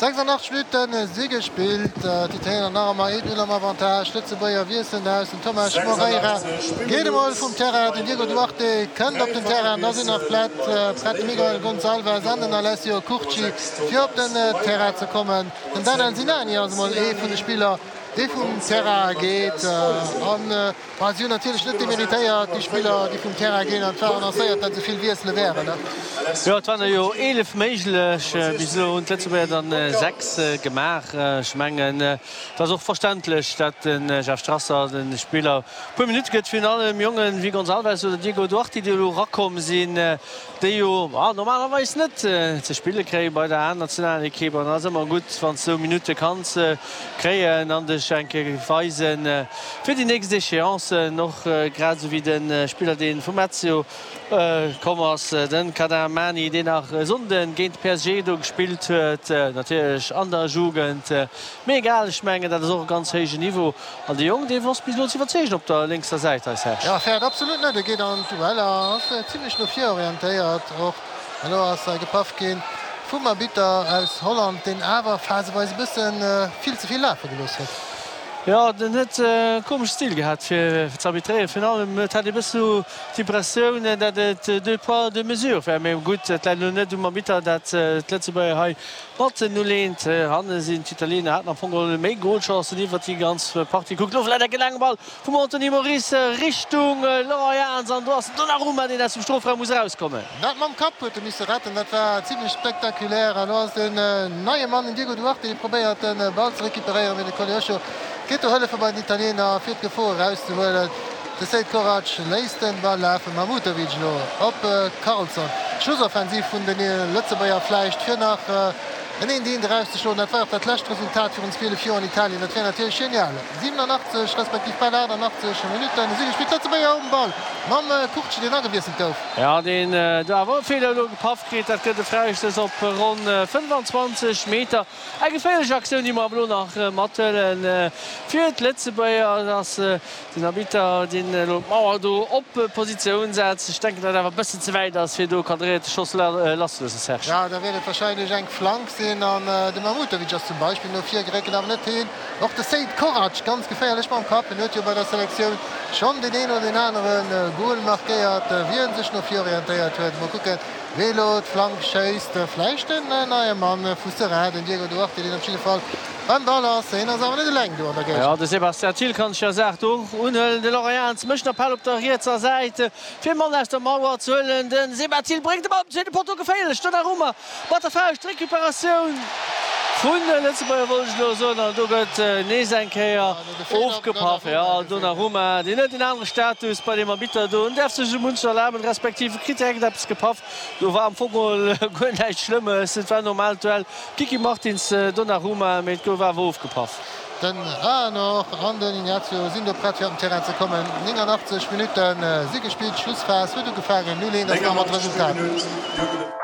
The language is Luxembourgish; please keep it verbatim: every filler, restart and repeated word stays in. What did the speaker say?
sechsundachtzeg Minutten si gespillt, d'Italiener nach ëmmer een Null am Avantage. D'Lëtzebuerger wiesselen aus, den Thomas Moreira geet emol vum Terrain, den Diego Duarte kënnt op den Terrain. Da sinn nach prett de Miguel Gonçalves an den Alessio Curci fir op den Terrain ze kommen. Den Danel Sinani ass emol ee vun de Spiller, dee vum Terrain geet an Bah, si hunn natierlech net demeritéiert, déi Spiller, déi vum Terrain ginn, an et war annoncéiert, datt esou vill Wiessele wären. Jo, et waren der jo eelef méiglech. Bis elo hunn d'Lëtzebuerger dann sechs gemaach. Ech mengen, et ass och verständlech, datt de Jeff Strasser de Spiller e puer Minutte gëtt, virun allem Jongen wéi Gonçalves oder Diego Duarte, déi elo erakomm sinn. Déi jo normalerweis net ze spille kréie bei der A-Nationalekipp. An et ass ëmmer gutt, wann s de esou Minutte kanns kréien an dech eng Kéier weisen fir déi nächst Échéancen. Och grad esou wéi de Spiller, dee vum Lazio komm ass, de Kader Mani, deen nach e Sonnde géint de P S G do gespillt huet, natierlech an der Jugend. Mee egal, ech mengen, dat ass och e ganz héijen Niveau. An de Jong, dee wosst bis elo ze iwwerzeegen op der lénkser Säit hei, Serge. Jo, fäert absolut net, e geet an d'Dueller, ass zimlech no vir orientéiert och. Elo ass hei gepaff gi vum Arbitter aus Holland, deen awer phaseweis e bësse vill ze vill lafe gelooss huet. Jo, den huet e komesche Stil gehat fir ze arbitréieren. Virun allem et hat ee bësse sou d'Impressioun, datt et deux poids deux mesures war. Mee gutt, et läit elo net um Arbitter, datt d'Lëtzebuerger hei mat null eent hanne sinn. D'Italiener haten am Fong geholl méi Golchancen iwwert déi ganz Partie. Kuckt elo vläit enke laange Ball vum Anthony Moris Richtung Laurent Jans an do ass den Donnarumma, deen aus dem Strofraum muss erauskommen. Dat mam Kapp huet e misse retten, dat war zimlech spektakulär. Elo ass den neie Mann, den Diego Duarte, dee probéiert de Ball ze recuperéieren, mee de Koleosho geet do hëllefe bei den Italiener fir d'Gefor erauszehuelen. De Seid Korac léisst den Ball lafen, Mahmutovic elo op Karlsson. D'Schlussoffensiv vun de Lëtzebuerger vläicht fir nach en eent eent erauszeschloen. Dat war och dat lescht Resultat virun zwielef Joer an Italien. Dat wär natierlech genial. siwenunachtzeg respektiv bal aachtannachtzeg Minutten si gespillt. D'Lëtzebuerger um Ball mam Curci, deen agewiesselt gouf. Jo, deen do awer e Feeler elo gepaff kritt. Dat gëtt e Fräistouss op ronn fënnefanzwanzeg Meter. Eng geféierlech Aktioun, déi mer awer elo nach mathuelen fir d'Lëtzebuerger. Et ass den Arbitter, deen elo d'Mauer do op Positioun setzt. Ech denken, datt et awer e bëssen ze wäit ass, fir do cadréierte Schoss lasszeloossen, Serge. Jo, da wäert et warscheinlech eng Flank sinn an de Mahmutovic ass zum Beispill no vir geréckelt, awer net heen. Och de Seid Korac ganz geféierlech mam Kapp. En huet jo bei der Selektioun schonn deen een oder deen anere Gol markéiert, wéi en sech no vir orientéiert huet. Mol kucken, wee elo d'Flank schéisst. Vläicht den neie Mann vu Seraing, den Diego Duarte, deen op jidde Fall beim Ball ass. Hien ass awer net eleng do an der Géigend. Jo, de Sébastien Thill kann sech der Saach do och unhuelen. De Laurent Jans mécht den Appell op der rietser Säit, fir Mann aus der Mauer ze huelen. De Seba Thill bréngt de Ball op den zweete Potto, geféierlech, Donnarumma mat der Fauscht, d'Recuperatioun vun de Lëtzebuerger wollt ech elo soen, an do gëtt nees eng Kéier ofgepaff. Jo, Donnarumma, deen huet en anere Status bei deem Arbitter do, en däerf sech esou munches erlaben, respektiv e kritt direkt eppes gepaff. Do war am Fong geholl guer näischt Schlëmmes, et war en normaalt Duell Kiki Martins, Donnarumma, mee et gouf awer ofgepaff. Den Ahanor an den Ignacio sinn do prett fir op den Terrain ze kommen. néngannachtzeg Minutte si gespillt, d'Schlussphas huet ugefaangen. Null eent ass nach ëmmer d'Resultat.